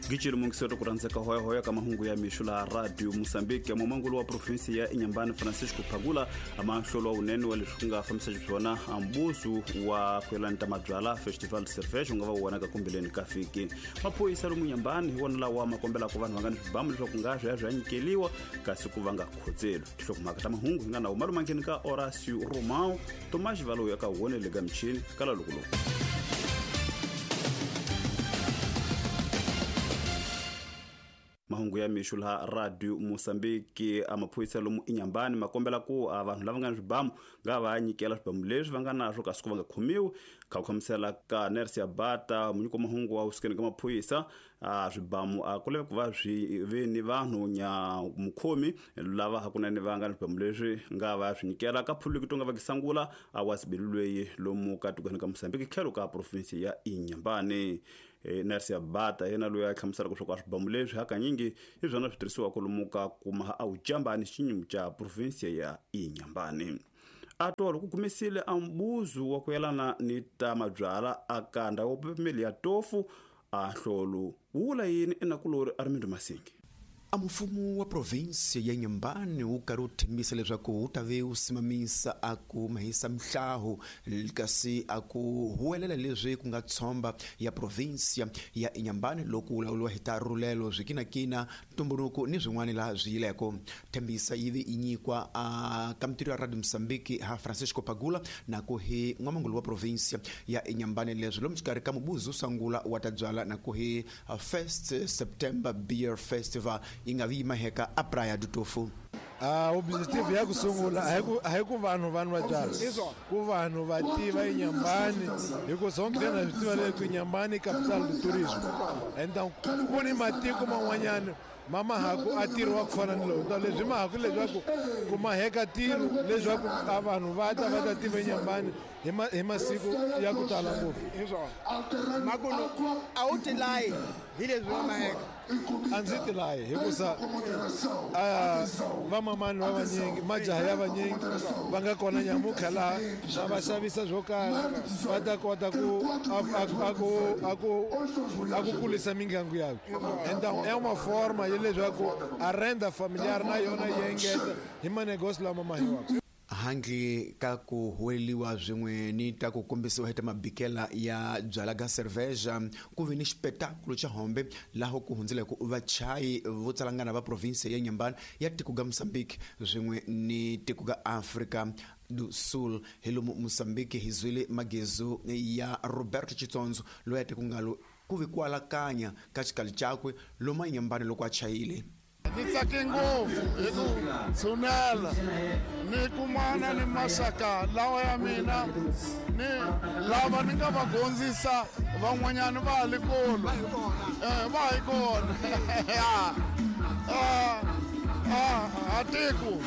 Gicile mungiselo ku rhandzeka hoyahoya ka mahungu ya mixo laha Radio Mosambike. Mumangulu wa provinsi ya Inhambane, Francisco Phagula, amahlolo wa wunene wa leswi ku nga fambisa xiswona ambuzu wa ku yelana ta mabyala Festival de Cerveja wu nga va wu vonaka kumbeleni ka vhiki. Maphorisa lomu Inhambane hi wona lawa ma kombelaka vanhu va nga ni swibamu leswaku nga swi ya swi ya nyikeliwa kasi ku va nga khotseli. Tinhlokomhaka ta mahungu hi nga na wuma lumangeni ka Horacio Romao, Tomas Valoyi eka wonele ka michini kala loko loku. Mahungu ya mixo laha Radio Mosambiki. A maphorisa lomu Inhambane ma kombela ku a vanhu lava nga ni swibamu nga va nyikela swibamu leswi va nga naswo kasi ku va nga khomiwi. Kha ku hlamusela ka Nersia Bata, munyiki wa mahungu wa usukeni ka maphorisa, a swibamu a ku lava ku va swi ve ni vanhu nya mukhomi lava hakunene va nga ni swibamu leswi nga va swi nyikela ka phuluki to nga va kisangula a wa sibili lweyi lomu ka tikweni ka Mosambiki tlhelo ka provinsi ya Inhambane. Nersia Bata yena loyi a hlamuselaka leswaku a swibamu leswi hakanyingi hi swona swi tirhisiwaka lomu ka kuma a wu jambani xinyumu xa provinsia ya Inhambane. A tolo ku kumisile a mbuzu wa ku yelana ni ta mabyala a ka ndhawu ya pepemeli ya tofu a hlolo wu vula yini enakulori Armindo Masingi. A mfumo wa provinsi ya Inhambane wu karhi wu tshembisa leswaku wu ta ve wu simamisa a ku mahisa mihlahu kasi a ku huwelela leswi ku nga tshomba ya provinsi ya Inhambane loko wu lawuriwa hi ta rhulelo swikinakina ntumbuluko ni swin'wana laha swi yileko. Thembisa yi ve yi nyikwa a ka mitirho ya Radio Mosambiki ha Francisco Pagula na ku hi n'wamangulu wa provinsi ya Inhambane leswi lomu xikarhi ka mubuzu sangula wa ta byala na ku hi 1 September Beer Festival yi nga vi maheka a Praia do Tofu. Objective ya ku sungula a hi ku vanhu va nwa byala, ku vanhu va tiva Inhambane, hi ku sonke na swi tiva leswi Inhambane i capital do tourism. Então ku ni matiko man'wanyana ma mahaku a tirho wa ku fana ni lowu. Então leswi mahaku leswaku ku maheka tiro leswaku a vanhu va ta va ta tiva Inhambane hi masiku ya ku tala ngopfu. Hi swona. Makuno a wu tilayi hi leswi va maheka? A ndzi tilayi hikusa vamamani va vanyingi, majaha ya vanyingi va nga kona nyamutlha laha na va xavisa swo karhi va ta kota ku a ku kulisa mindyangu yavo. Então é uma forma ya leswaku a renda familiar na yona yi engeta hi manegosio lama mahiwaka. Handle ka ku huweleliwa swin'we ni ta ku kombisiwa hi ta mabikela ya byala ga cerveja, ku ve ni xipetakulo xa hombe laha ku hundzeleke vachayi vo tsalangana va provinsi ya Inhambane ya tiko ga Mozambique swin'we ni tiko ga Afrika do Sul. Hi lomu Mozambique hi zwile magezu ya Roberto Chitsonzo loyi a tiko ngalo ku ve ku alakanya ka xikali xakwe lomu a Inhambane loko a chayile. Ni tsake ngopfu hi ku tshunela ni kumana ni maxaka lawa ya mina ni lava ni nga va gondzisa van'wanyana va ha le kolo. Va hi kona. A tiko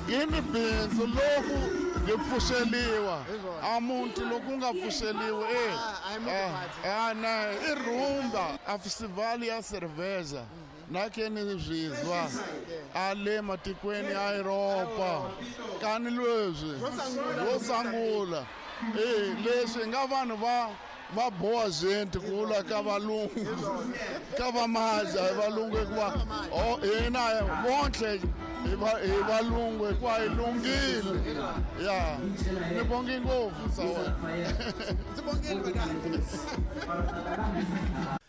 yi ni bindzu loko yi pfuxeliwa. A muti loko wu nga pfuxeliwi, na i rhumba a festival ya cerveja. Na ke ni zwizwa a le matikweni ya Europa kani leswi ro sungula leswi nga vanhu va boa gente ku vula ka valungu ka va maja hi valungu hikuva hina vontlhe hi valungu hikuva hi lunghile. Ya ni bongi ngopfu sa wena. Ndzi bongile vanghana.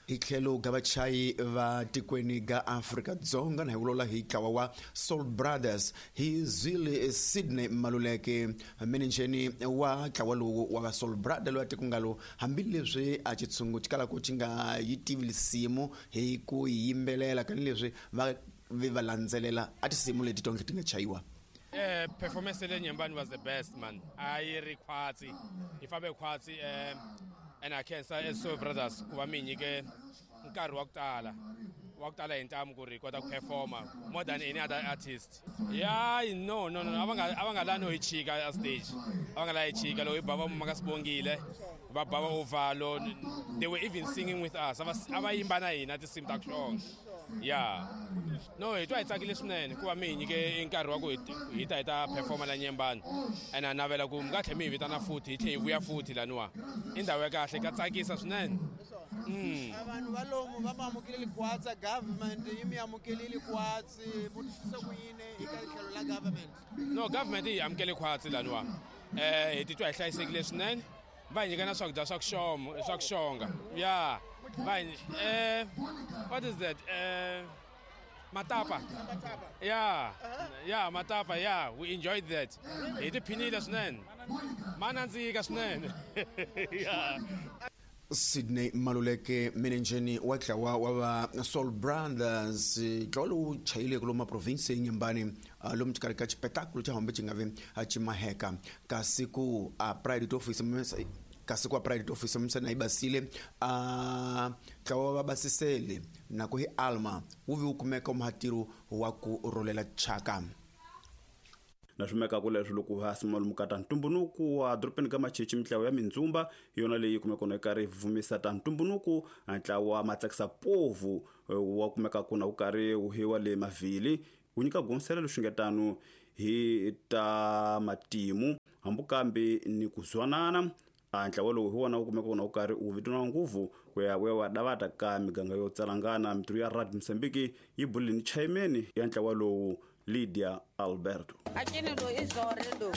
Hi tlhelo ga vachayi va tikweni ga Afrika Dzonga na hi vulavula hi ntlawa wa Soul Brothers hi zwile Sydney Maluleke, menejeni wa ntlawa lowu wa va Soul Brothers loyi a tiko ngalo hambileswi a xitshungu xi kalaka xi nga yi tivi risimu hi ku yimbelela tanihileswi va ve va landzelela a tinsimu leti tonke ti nga chayiwa. Performance le Inhambane was the best, man. A yi ri khwatsi, yi fambe khwatsi, and I can say as Soul Brothers ku va mi nyike nkarhi wa ku tala, wa ku tala hi ntamu ku ri hi kota ku performa more than any other artist. Yeah, no, no, no, a va nga lavi no hi chika a stage. A va nga lavi hi chika loko hi ba va maka Sibongile, va ba va Ovalo, they were even singing with us. A va yimba na hina tinsimu ta ku xonga. Yeah. No, hi twa hi tsakile swinene ku va mi hi nyike nkarhi wa ku hi ta hi ta performa la Inhambane. And a navela ku mi nga tlhela mi hi vitana futhi, hi tlhela hi vuya futhi laniwa. I ndhawu ya kahle, ka tsakisa swinene. A vanhu va lomu va mi amukeleli kwatsa, government yi mi amukeleli kwatsi, mu twisisa ku yini eka tlhelo la government? No, government yi amukele khwatsi laniwa. Hi titwa hi hlayisekile swinene. Va hi nyika na swakudya swa ku xoma, swa ku xonga. Ya va hi what is that, matapa? Ya matapa, ya, we enjoyed that. Hi tiphinile swinene, ma nandzika swinene, ya. Sydney Maluleke, menenjeni wa ntlawa wa va Soul Brothers, ntlawa lowu chayileke lomu maprovinsi ya Nyembani, lomu xikarhi ka xipetakulo xa hombe xi nga vi xi maheka, kasi ku a pride office, kasi ku a pride office misana yi basile, a ntlawa wa va basisele na ku hi alma wu vi wu kumeka muhatiro wa ku rholela chaka. Na swi mekaka leswi loko va sima ka ta ntumbunuku wa dorobeni ka Machichi, mitlawa ya mindzumba hi yona leyi kumeka na yi karhi yi vumisa ta ntumbunuku. Ntlawa matsakisa povu wa kumeka ku na wu karhi wu hiwa le mavhili, wu nyika gonsela leswi nga tano hi ta matimu hambi kambe ni ku zwanana. A ntlawa lowu hi wona wu kumeka na wu karhi wu vitaniwa nguvu ku ya wa davata ka miganga yo tsalangana. Mitirho ya Radio Mozambique yi bulile ni chairman ya ntlawa lowu, Lydia Alberto. Akini do izore do.